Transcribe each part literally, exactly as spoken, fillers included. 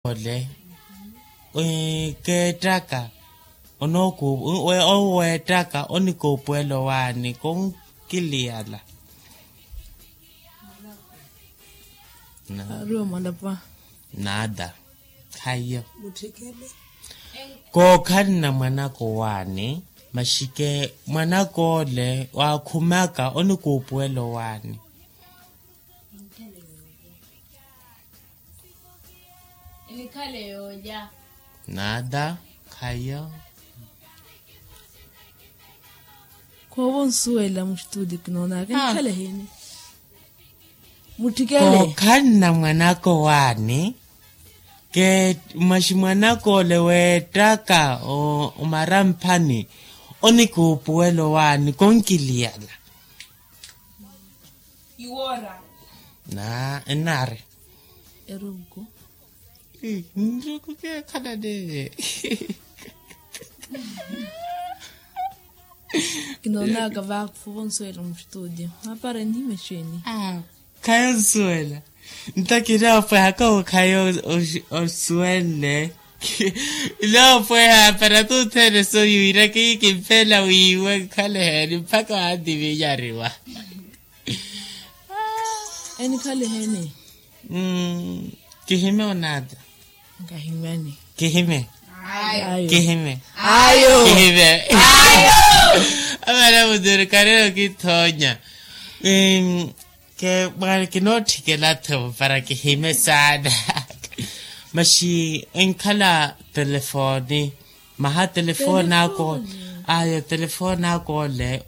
ole keettaka onooku oweettaka onikuupuwela owaani konkiliyala. Ariwa mwalapwa. Naada. Khaiyo. Kookhalana mwanaka owaani, maxike mwanaka ole waakhumaka onikuupuwela owaani. Naada. Khaiyo. Khoovo nsuwela mustudi kinoonaka nikhala heni. Muttikele. Kookhalana mwanaka owaani, ke maxi mwanaka ole weettaka omaramphani onikuupuwela owaani konkiliyala. Iwoora. Na ennaari. Eruku. Nruku keekhalane. Kinoonaka vakhufu vonsuwela mustudio mapara enihima exeeni. Khayo nsuwela. Nto kinoopwehaka okhayo osuwenle. Inoopweha para tuthene soyuwira kiyi kimpela wiiwe nkhale heni mpakha waantivinyariwa. Enikhale heni. Kihime onaata. Nkahimani. Kihime. Kihime. Ayo. Kihime. Amana muduru karero kithoonya. Ke mwaari kinootthikela-tho para kihime saana. Maxi enkhala telefoni. Maha telefoni ako. Ayo telefoni ako ole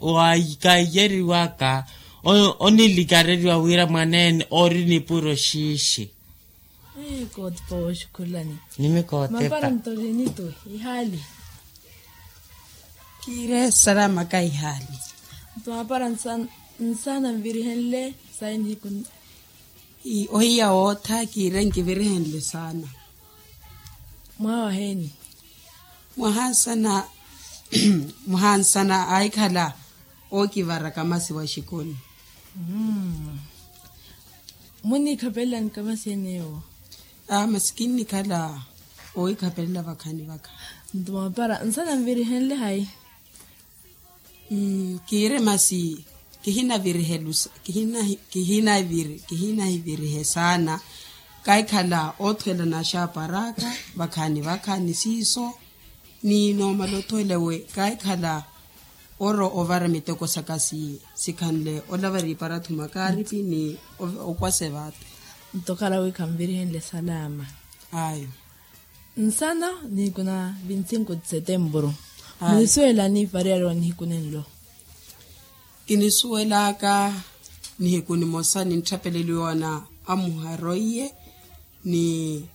kaiyeriwaka. Onilikareriwa wira mwaneene ori nipuro xiixi. Kootipa wooxukhulani. Nimikootipa. Mapara nto linitu ihaali. Kiire salama ka ihaali. Nto mapara nsana nvirihenle sayi nihiku. Ohiya wootha kiire nkivirihenle saana. Mwaha waheeni? Mwaha nsana. Mwaha nsana ahikhala ookivaraka masi wa exikoni. Muniikhapelela nikamasi eneewo. Masi kinnikhala oohikhapelela vakhaani vakha. Nto mapara nsana nvirihenle hayi? Kiire masi kihinavirihelu kihinahivirihe saana. Kahikhala oothwela naxaaparaka vakhaani vakhaani siiso. Ni noomala othwela ewe kahikhala oro ovara miteko saka sikhanle olavara iparathuma kaaripi ni okwasa evaate. Nto khala wi khanvirihenle salama. Ayo. Nsana nihiku na vinti cinco de setembro. Munisuwelani variyari wa nihiku nenlo? Kinisuwelaka nihiku nimosa nintthapeleliwa na amuharoiye ni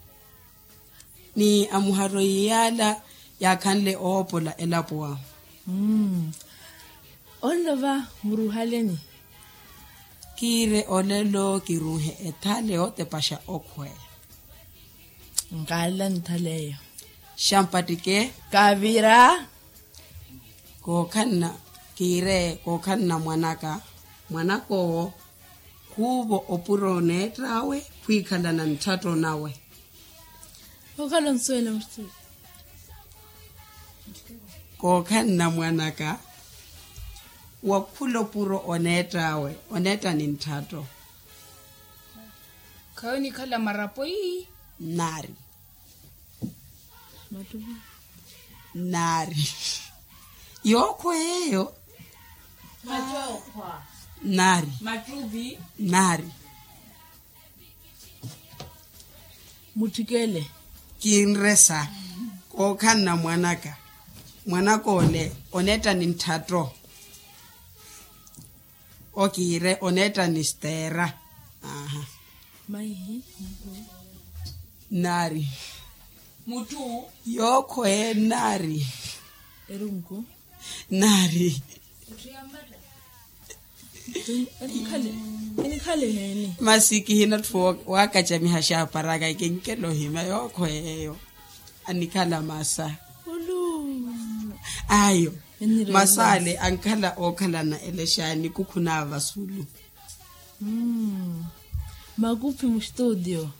ni amuharoiye yaala yaakhanle oopola elapo ahu. Onlova muruuhaleni? Kiire olelo kiruuhe ethale yootepaxa okhweya. Nkaala nthale eyo. Xampattike. Kavira. Kookhanna kiire kookhanna mwanaka mwanak'owo khuuvo opuro oneett'awe khwiikhalana ntthatto nawe. Okhala onsuwela musturi. Kookhanna mwanaka wakhula opuro oneett'awe oneetta ni ntthatto. Khayo nikhala marapo ii. Nnaari. Nnaari. Yookhwa eyo. Nnaari. Nnaari. Mutthikele. Kinresa kookhanna mwanaka mwanaka ole oneetta ni ntthatto. Okiire oneetta ni steera. Aha. Maihi. Nnaari. Mutthu. Yookhweye nnaari. Erunku. Nnaari. Enikhale enikhale heeni? Masi kihinatthu waakacamiha xaaparaka kinkela ohima yookhweye eyo. Anikhala masa. Ayo. Masa ale ankhala ookhalana ele xaani kukhu na vasulu. Makuphi mustudio.